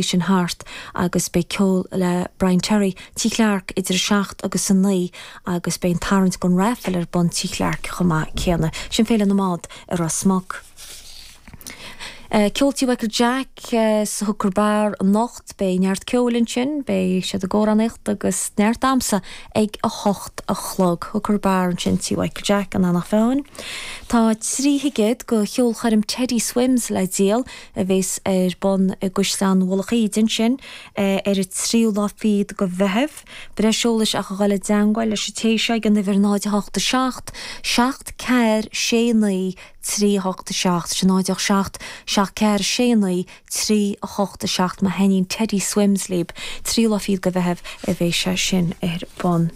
Sin thart agus beidh ceol le Brian Terry, Tigh Clarke idir a 7 agus a 9 agus beidh an tarraingt don raffle ar bun Tigh Clarke chomh maith céanna. Sin Féile na mBád i Ros Muc. Ceol Tí Mhichael Jack sa Hooker Bar anocht. Beidh neart ceoil ansin, beidh siad ag amhránaíocht agus neart damhsa ag 8 a chlog. Hooker Bar ansin Tí Mhichael Jack in Eanach Mheáin. Tá 3 thicéad go cheolchoirm Teddy Swims le díol. a bhéas ar bun i gCaisleán Mhullach Íde ansin ar an tríú lá fichead de Mheitheamh. Breis eolais ach a dhul i dteangmháil leis an té seo ag an uimhir 0 8 7 7 4 6 9 3 8 7, sin 0 8 7 7 4 6 9 3 8 7 má thaitníonn Teddy Swims libh. Tríú lá fichead de Mheitheamh a bhéas sé sin ar bun.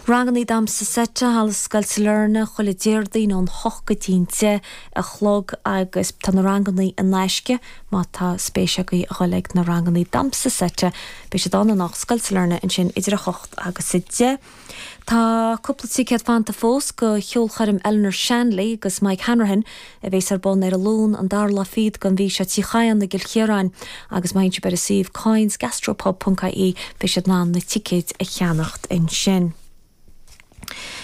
Rangannaí Damhsa Seite, Halla Scoil Sailearna, chuile Déardaoin ón hocht go dtí'n deich a chlog agus tá na rangannaí in aisce má tá spéis agaibh a dhul ag na rangannaí Damhsa Seite. Beidh siad ann anocht, Scoil Sailearna ansin idir a hocht agus a deich. Tá cúpla ticéad fanta fós go cheolchoirm Eleanor Shanley agus Mike Hanrahan a bhéas ar bun ar an Luan an dara lá fichead den mhí seo Tigh Chadhain i gCill Chiaráin agus má théann sibh ar an suíomh kynesgastropub.ie beidh sibh in ann na ticéid a cheannacht ansin.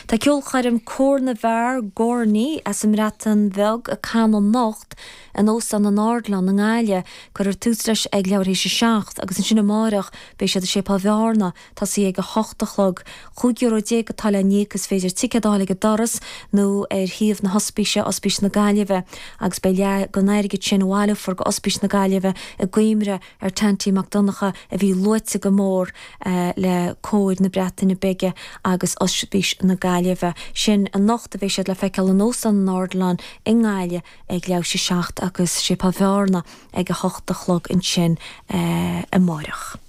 Tá ceolchoirm Cór na bhFear Gorney as an mBreatain Bheag ag canadh anocht in Óstán an Ardilaun i nGaillimh. Cuirfear tús leis ag leathuair théis a 7 agus ansin amáireach beidh siad i Séipéal Bhearna Tosaí ag 8 a chlog. €15 euro atá le n-íoc. Is féidir ticéad a fháil ag an doras nó ar shuíomh na hOspíse, Ospís na Gaillimhe, agus beidh leath den airgead sin a bhaileofar go Ospís na Gaillimhe i gcuimhne ar Tanty Mac Donncha a bhí luaite go mór le Cór na Breataine Bige agus Ospís na Gaillimhe. Sin anocht a bheidh siad le feiceáil in Óstán an Ardilaun i nGaillimh ag leathuair théis a 7 agus Séipéal Bhearna ag 8 a chlog ansin amáireach.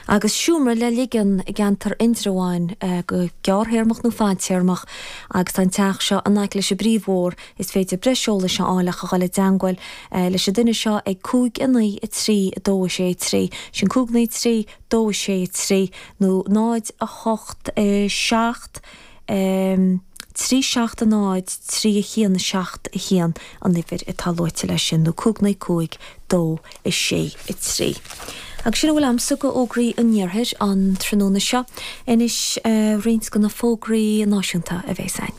Agus seomra le ligean i gceantar Indreabháin go gearrthéarmach nó fadtéarmach agus tá an teach seo in aice leis an bpríomhbhóthar. Is féidir breis eolais a fháil ach a dhul i dteangmháil leis an duine seo ag 5 9 3 2 6 3, sin 5 9 3 2 6 3 nó 0 8 7 3 7 0 3 1 7 1 an uimhir atá luaite leis sin, nó 5 9 5 2 6 3. Agus sin a bhfuil a'msa go fhógraí an Iarthair an tráthnóna seo. Anois roinnt de na fógraí náisiúnta a bhéas a'inn.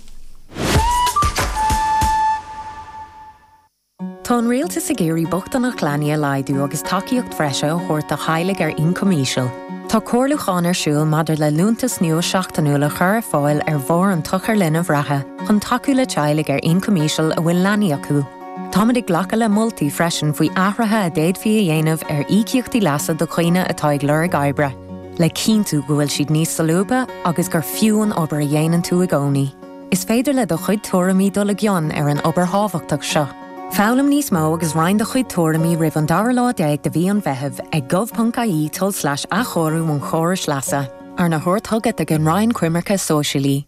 Tá an Rialtas ag iarraidh bochtaineacht leanaí a laghdú agus tacaíocht bhreise a thabhairt do theaghlaigh ar ioncam íseal. Tá comhairliúchán ar siúl maidir le liúntas nua seachtainiúil a chur ar fáil ar bharr an tSochair Linbh reatha chun tacú le teaghlaigh ar ioncam íseal a bhfuil leanaí acu. Táimid ag glacadh le moltaí freisin faoi athruithe a d'fhéadfaí a dhéanamh ar íocaíochtaí leasa do dhaoine atá ag lorg oibre, le cinntiú go bhfuil siad níos solúbtha agus gur fiú an obair a dhéanann tú i gcónaí. Is féidir le do chuid tuairimí dul i gcion ar an obair thábhachtach seo. Foghlaim níos mó agus roinn do chuid tuairimí roimh an dara lá déag de mhí an Mheithimh ag gov.ie tulslais athchóiriú an chórais leasa, arna thabhairt chugat ag an Roinn Coimirce Sóisialaí.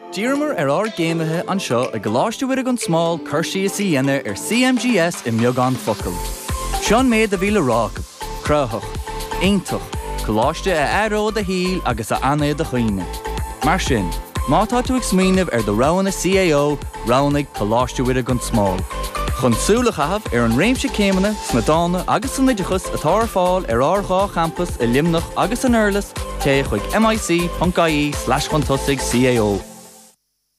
D'iarramar ar ár gcéimithe anseo i gColáiste Mhuire gan Smál cur síos a dhéanamh ar CMGS i mbeagán focal. Seo an méid a bhí le rá acu, Cruthaitheach. Iontach. Coláiste a athróidh do shaol agus a fhanfaidh i do chuimhne. Mar sin, má tá tú ag smaoineamh ar do roghanna CAO, roghnaigh Coláiste Mhuire gan Smál. Chun súil a chaitheamh ar an réimse céimeanna sna dána agus san oideachas atá ar fáil ar ár dhá champas i Luimneach agus san Durlas, téigh chuig mic.ie slash chun tosaigh CAO.